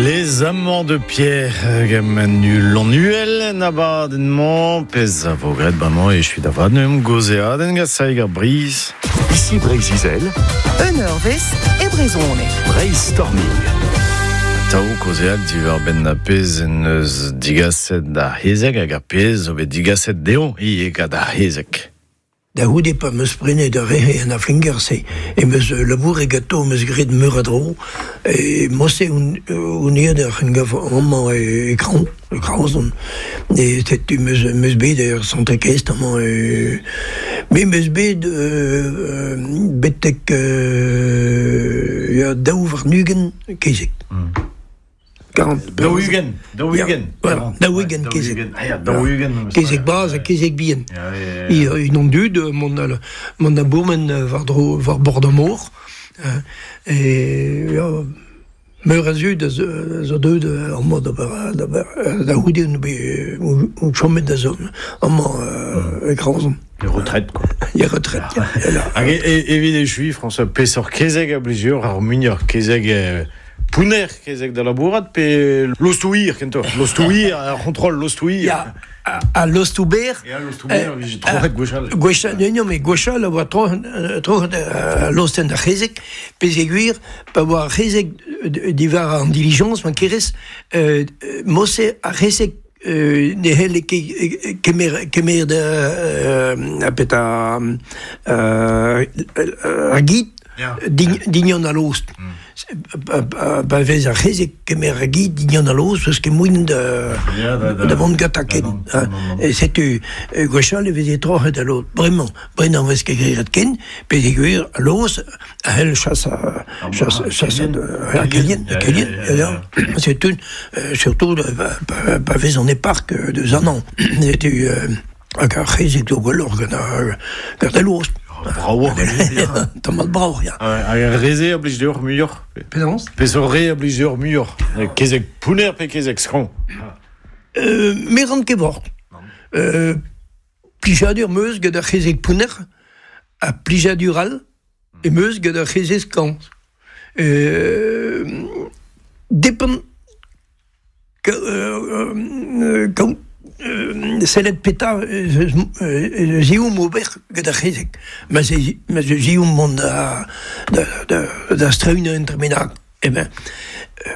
Les Amants de Pierre gant Manu Lannuel en abadenn-mañ, pezh a vo graet bremañ e echu da vat neuze gaozeadenn gant Saig ar Brizh. Ici Breizh-Izel. Un eurvezh e brezhoneg. Breizh-Storming. Atav kaozeal diwar-benn ar pezh en deus digaset ar c'hezeg hag ar pezh zo bet digaset dezhañ ivez gant ar c'hezeg. Da c'houde pa 'm eus prenet ar re en Aflingerse em eus labouret ganto, em eus graet meur a dro. E mod-se on on aet er c'hengav amañ e Kraoñ, e Kraozon. E setu 'm eus 'm eus bet er Centre-Kest amañ. Me 'm eus bet betek ya 22 kezeg. 40. 40. Voilà, 40 kezeg. Ah, 40. Kezeg bras ha kezeg bihan. Unan dud, mont mont da bourmen war-dro war bord ar mor. E ya, meur a zud a zo deuet amañ d'ober da c'houde on chomet da zont amañ e Kraozon. E retraite, quoi. E retraite, ya. Hag evit echuiñ, François, peseurt kezeg a blij deoc'h ar muioc'h? Kezeg Pounner kezeg da labourat pe lostoù-hir kentoc'h? Lostoù-hir, ar c'hontrol lostoù-hir. Ya, al lostoù-berr. Ya, lostoù-berr, vije troc'het gwechall. Gwechall, non, mais gwechall a oa troc'het, troc'het lostenn ar c'hezeg, peogwir pa oa ar c'hezeg diwar an dilijañs, ma kerez, mod-se ar c'hezeg ne c'helle ket kemer, kemer da, petra, ar gid Dignon a lost. Pa vez ar c'hezeg kemer a gi dignon a lost, eus ket moaien da vont gantañ ken. E setu gwechall e veze troc'het al lost. Bremañ, bremañ vez ket graet ken, peogwir al lost a c'hell chasañ chasañ ar kelien, kelien, ya. Setu surtout pa vez an e park deus an hañv. Setu Hag ar c'hezeg zo gwelloc'h gant ar, gant al lost. Bravoc'h. Tamm bravoc'h, ya. Hag ar re-se a blij deoc'h muioc'h? Penaos? Peseurt re a blij deoc'h muioc'h? Kezeg pounner pe kezeg skañv? Me ran ket vort. Plijadur 'm eus gant ar c'hezeg pounner ha plijadur all em eus gant ar c'hezeg skañv. Depend Kaout sellet petra ez eomp ober gant ar c'hezeg. Ma ez eomp mont da da strewiñ un dra bennak. Eh ben,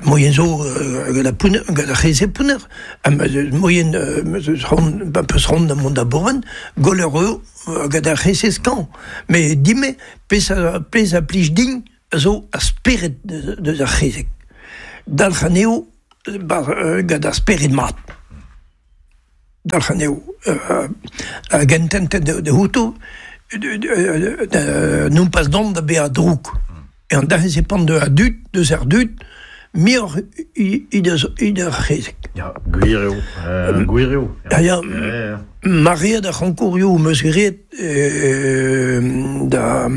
moien zo gant ar pounner, gant ar c'hezeg pounner. Ha ma 'z eus moien, ma 'z eus c'hoant, ma 'peus c'hoant da mont da bourmen, gwelloc'h eo gant ar c'hezeg skañv. Met din-me, pezh a pezh a plij din a zo ar spered deus ar c'hezeg. Dalc'h anezho gant ar spered mat. Dalc'h anezho hag ententet da outo nompas dont da bezañ drouk. E an dac'h-se pan deus ar dud, deus ar dud, muioc'h he deus ar c'hezeg. Ya, gwir eo. Gwir eo. Ya, ya. Maread ar c'honkourioù 'm eus graet da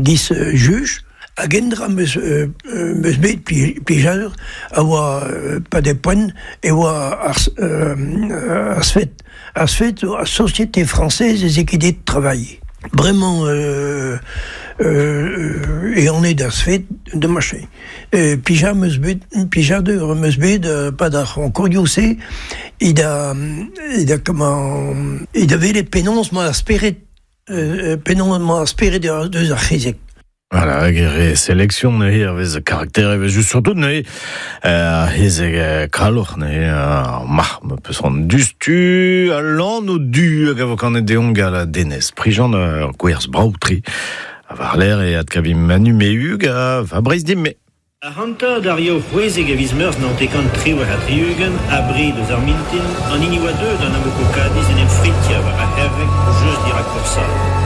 giz juj hag endra 'm eus 'm eus bet plijadur a oa pa de poent e oa ar ar SFET. Ar SFET zo ar Société Française des Équidés de Travail. Bremañ e on eo d'ar SFET da machin. Plijañ 'm eus bet plijadur 'm eus bet 'pad ar c'honkourioù-se e da e da comment e da welet penaos 'mañ ar spered penaos 'mañ ar spered deus ar c'hezeg. Voilà, hag e re sélection neuze hervez karakter e vez just surtout neuze ar c'hezeg kaloc'h neuze ar marc'h ma peus c'hoant diouzhtu al lanv du hag a vo kanet deomp gant Denez Prigent ur gwerz brav-tre. Ha war-lerc'h e adkavimp Manu Mehug ha Fabrice Dimme. Ac'hanta, d'ar Yaou 16 a viz Meurzh 1978, abred eus ar mintin, an hini oa deuet an Amoco Cadiz en em fritiañ war ar c'herreg just dirak Porsal.